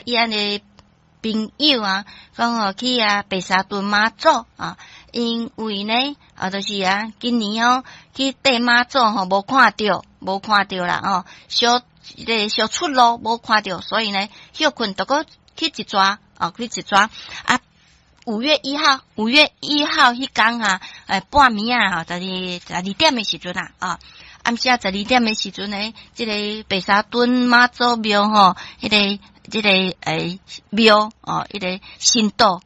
伊按的朋友啊，講吼去啊白沙屯媽祖啊，因為呢啊，就是啊，今年哦去綴媽祖吼，無看著，無看著啦哦，小這个小出路無看著，所以呢，歇睏就閣去一逝啊，去一逝啊。5月1號，5月1號彼工啊，半暝啊，吼，十二點的時陣啊，啊，暗時啊十二點的時陣呢，這個白沙屯媽祖廟吼，彼个這个廟哦，彼个神桌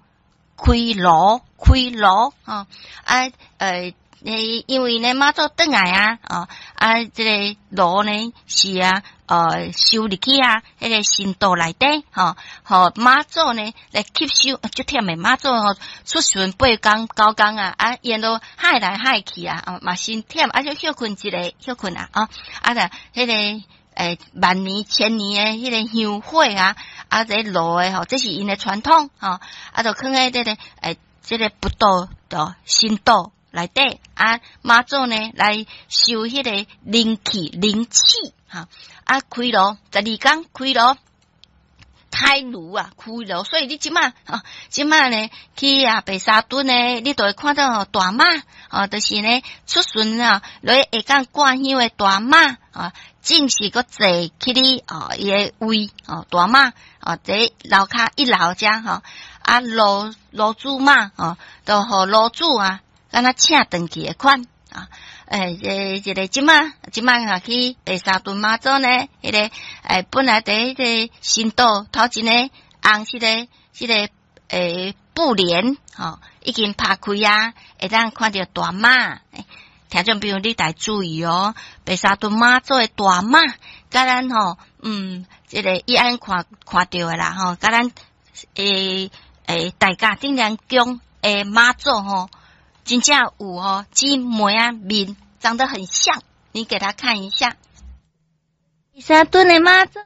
開爐開爐吼，啊因為呢媽祖轉來啊，哦啊，這个爐呢是啊，收入去啊，彼个神桌內底，吼，予媽祖呢來吸收，足忝的媽祖吼，出巡八工九工啊，啊，沿路海來海去啊，哦，嘛真忝，啊，就歇睏一下，歇睏啊，哦，啊，就彼个萬年千年的彼个香火啊，啊，這爐的吼，這是𪜶的傳統，吼，啊，就囥佇這个這个佛桌的神桌內底，啊，媽祖呢來收彼个靈氣靈氣，哈，啊，開爐12工開爐，開爐啊，開爐，所以你這馬啊，這馬呢去啊白沙屯呢，你就會看到吼大媽，哦，就是呢出巡啊，落去下港掛香的大媽啊，正式閣坐起哩哦，伊的位哦，大媽哦，佇樓跤一樓遮吼，啊，爐主媽哦，就予爐主啊，敢若請轉去的款啊。這個這馬這馬啊去白沙屯媽祖呢，彼个本來佇彼个神桌頭前呢，紅色的這个布簾吼，已經拍開啊，會當看著大媽。聽眾朋友，你著注意哦，白沙屯媽祖的大媽，佮咱吼，這个伊按看看著的啦吼，佮咱大甲鎮瀾宮的媽祖吼，真正有吼姊妹仔面長得很像，你給他看一下。白沙屯的媽祖。